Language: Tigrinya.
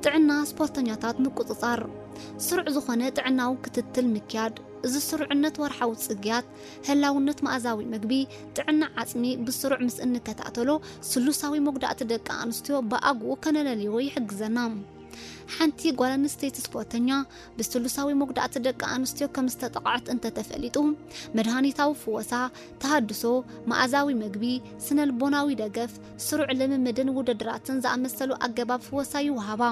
ጥዕና ስፖርተኛታት ምቁጽጻር፣ ስሩዕ ዝኾነ ጥዕናዊ ክትትል ምክያድ። እዚ ስሩዕነት ወርሓዊ ጽግያት፣ ህላውነት መኣዛዊ መግቢ፣ ጥዕና ዓጽሚ ብስሩዕ ምስ እንከታተሎ፣ ስሉሳዊ መጉዳእቲ ደቂ ኣንስትዮ ብኣግኡ ከነለልዮ ይሕግዘና። ሓንቲ ጓል ኣንስተይቲ ስፖርተኛ ብስሉሳዊ መጉዳእቲ ደቂ ኣንስትዮ ከም ዝተጠቕዐት እንተተፈሊጡ፣ መድሃኒታዊ ፍወሳ፣ ተሃድሶ፣ መኣዛዊ መግቢ፣ ስነልቦናዊ ደገፍ፣ ስሩዕ ልምምድን ውድድራትን ዝኣመሰሉ ኣገባብ ፍወሳ ይወሃባ።